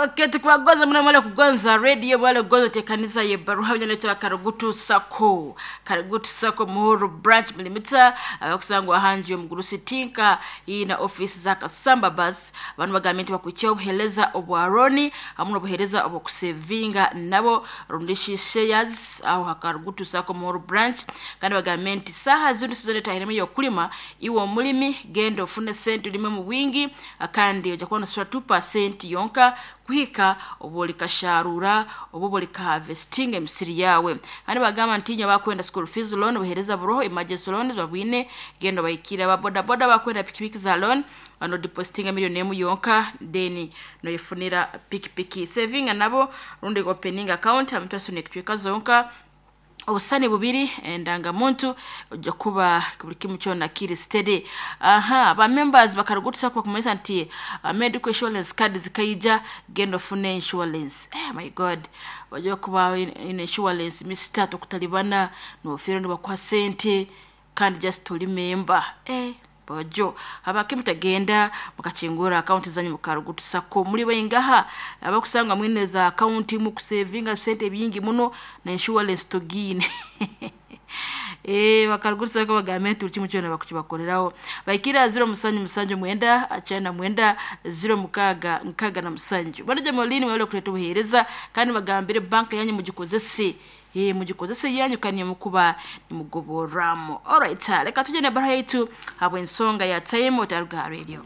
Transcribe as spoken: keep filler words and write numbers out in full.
Okay, tukubagoza muna mwale kugonza radio mwale kugonza tekanisa ye baruha byanetwa Karugutu Sako Karugutu Sako Muhuru branch milimita abakusangwa hanji omugurusi tinka iyi na office za Kasamba bus abantu bagambye nti bakwicha obuhereza obwaroni hamwe n'obuhereza obwokusevinga nabo rundishi shares aho Hakarugutu Sako Muhuru branch. Kandi bagambye nti saha zino sizone tahiremo yokulima iwe omulimi genda ofune sente ulime mu bwingi, kandi ojja kuba nosasula two percent yonka kuhika oba olikasharura oba olikaharvestinga emisiri yawe. Kandi bagamba nti nyo bakwenda school fees loan obuhereza buroho emergency loan babwine genda bayikira ba boda boda bakwenda pikipiki za loan ano depositinga million emu yonka then noyifunira pikipiki saving nabo rundi opening account amutaso nekitweka zonka obusani bubiri endangamuntu ojja kuba buli kimu kyona kiri steady. Aha, ba members bakarugutusa kwa kumanyisa nti uh, medical insurance card zikaija genda ofune insurance. Eh, my god, wajja kuba in, in insurance mister tokutalibana nofira nibakuha sente kandi just oli member. Eh, bojo abake mutagenda mukachingura account zanyu mukarugutusako muri baingaha abakusanga mwine za account mu kusavinga sente bingi muno na insurance togine. Eh, bakarugutusako bagambe tuli kimu kyona bakukibakoreraho baikira zero musanju musanju mwenda achana mwenda zero mukaga nkaga na musanju banaje molini wale kuleta ubuhereza kandi bagambire bank yanyu mugikozese eh mugikozese yanyu kandi mukuba nimugoboramo. Alright, reka tujye na bara yetu habwe ensonga ya time otaruga radio.